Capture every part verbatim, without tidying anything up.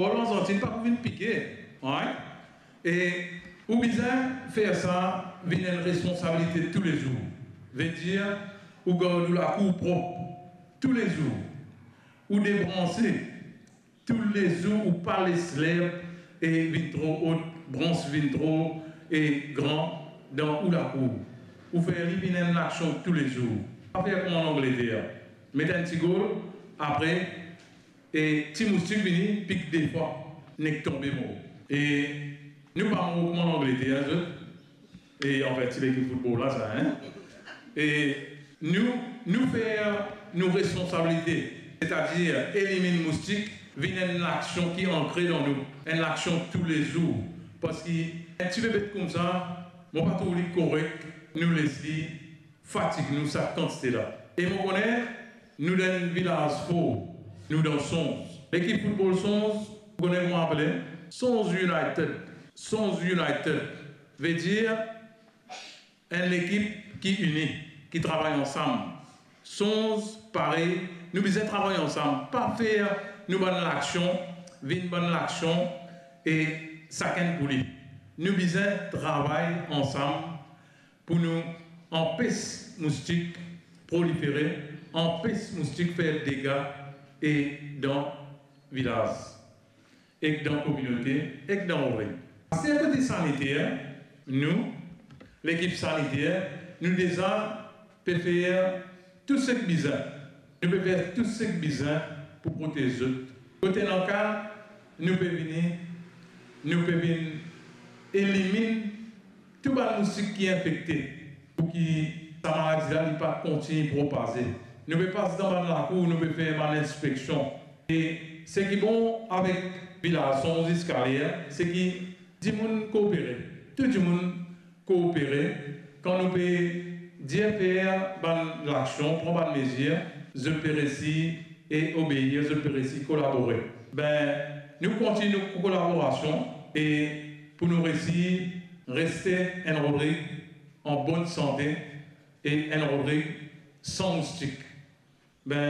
Bor Lanzantin pa pou vinn pike, right? E ou bizin fer sa vinn enn responsabilite toulezour. Vedir, ou gard ou lakour prop toulezour. Ou debranse toulezour, ou pa les lerb e vinn tro ot, brans vinn tro e gran dan ou lakour. Ou fer li vinn enn laksion toulezour. Pa fer kouma Langleter. Met enn ti gol, apre, e ti moustik vini, pik de fwa, nek tonbe mor. E nou pa mor kouma Langleter, zot. E anfin, ti lekip foutbol la, sa, hein? E nou, nou fer nou responsabilite, setadir eliminn moustik, vinn enn laksion ki ankre dan nou, enn laksion toulezour. Parski enn ti bebet koumsa, mo pa trouv li korek nou les li fatig nou sa kantite la. E mo kone nou dan enn vilaz for, nou dan Sonz. Lekip foutbol Sonz, ou kone kouma apele? Sonz United. Sonz United. Vedir enn lekip ki ini, ki travay ansam. Sonz parey, nou bizin travay ansam, pa fer nou bann laksion vinn bann laksion e sakenn pou li. Nou bizin travay ansam pou nou anpes moustik prolifere, anpes moustik fer dega e dan vilaz ek dan kominote, ek dan Roreg. Aster kote saniter, nou, lekip saniter, nou deza pe fer tou seki bizin. Nou pe fer tou seki bizin pou protez zot. Kote ena ka, nou pe vini, nou pe vinn eliminn tou bann moustik ki infekte, pou ki sa maladi la, li pa kontign propaze. Nou pe pas dan bann lakour, nou pe fer bann inspeksion. E seki bon avek vilaz Sonz ziska ler, seki dimoun koopere. Tou dimoun koopere. Kan nou pe dir fer bann laksion, pran bann mezir, zot pe resi e obeir, zot pe resi kolabore. Be, nou kontign nou kolaborasion e pou nou resi reste enn Roreg an bonn sante e enn Roreg san moustik. Be,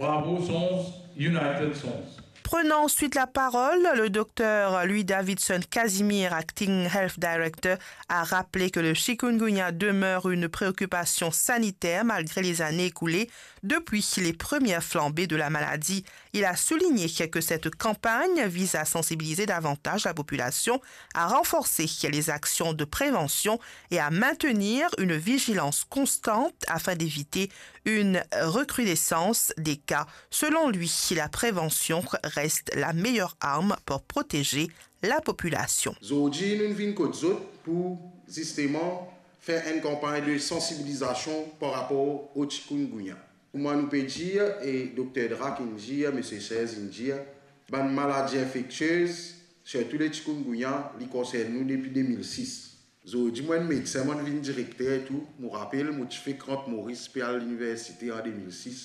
bravo Sonz, United Sonz. Prenant ensuite la parole, le docteur Louis Davidson Casimir, acting health director, a rappelé que le chikungunya demeure une préoccupation sanitaire malgré les années écoulées depuis les premières flambées de la maladie. Il a souligné que cette campagne vise à sensibiliser davantage la population, à renforcer les actions de prévention et à maintenir une vigilance constante afin d'éviter une recrudescence des cas. Selon lui, la prévention reste la meilleure arme pour protéger la population. Zordi, nou vinn kot zot pou, zisteman, fer enn kanpagn de sansibilizasion par rapor o chikungunya. Kouma nou pe dir, e Dokter Drac inn dir, Misie Serge inn dir, bann maladi infektiez, sirtou le chikungunya, li konsern nou depi de mil sis. Zordi, mo enn medsin, mo vinn direkter tou, mo rapel, mo ti fek rant Moris pe al liniversite an de mil sis.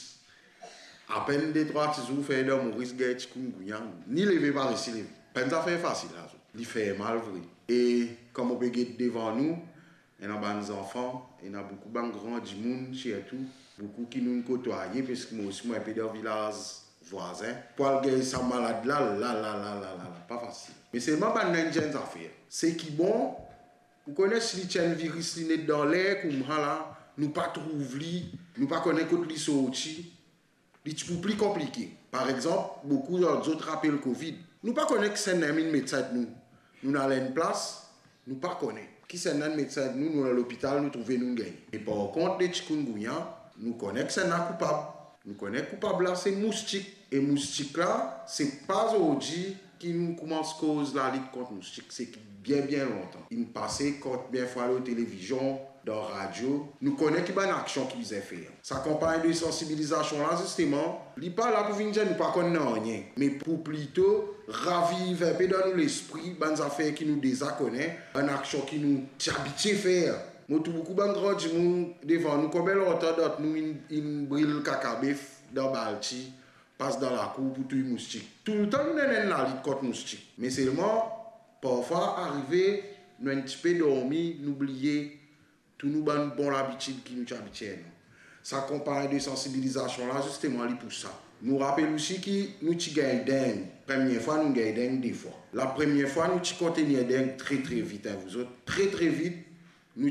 Apenn de trwa ti zour fer dan Moris gagn chikungunya, ni leve pa resi leve. Pa enn zafer fasil la, li fer mal vre. E kan mo pe get devan nou, ena bann zanfan, ena boukou bann gran dimoun, sirtou, boukou ki nou kotwaye, parski mo osi, mo enpe dan vilaz vwazin. Pou al gagn sa malad la, la, la, la, pa fasil. Me selman bann la inn dir enn zafer. Seki bon, ou kone si li ti enn viris, li net dan ler kouma la, nou pa trouv li, nou pa kone kot li sorti, li ti pou pli konplike. Par exanp, boukou dan zot rapel Covid. Nou pa kone kisannla inn met sa ant nou. Nou al enn plas, nou pa kone. Kisannla inn met sa ant nou, nou al lopital, nou trouve nou gagn. E par kont, le chikungunya, nou kone kisannla koupab. Nou kone koupab la, se moustik. E moustik la, se pa zordi ki nou koumans koz lalit kont moustik, se ki bien, bien lontan. Inn pase konbien fwa lor televizion, dan radio, nou kone ki bann aksion ki bizin fer. Sa kanpagn de sansibilizasion la, zisteman, li pa la pou vinn dir nou pa konn nanye, me pou plito raviv enpe dan nou lespri bann zafer ki nou deza kone, bann aksion ki nou ti abitie fer. Mo trouv boukou bann gran dimoun devan nou, konbien lontan dan nou inn, inn bril kakabef dan balti, pas dan lakour pou touy moustik. Toultan nou ena enn lalit kont moustik. Me selman, parfwa arive, nou enn tipe dormi, nou bliye tou nou bann bon labitid ki nou ti abitie ena. Sa kanpagn de sansibilizasion la, zisteman, li pou sa. Nou rapel osi ki nou ti gagn deng. Premie fwa, nou gagn deng de fwa. Lapremie fwa, nou ti kontign deng tre, tre vit, hein, vouzot. Tre, tre vit,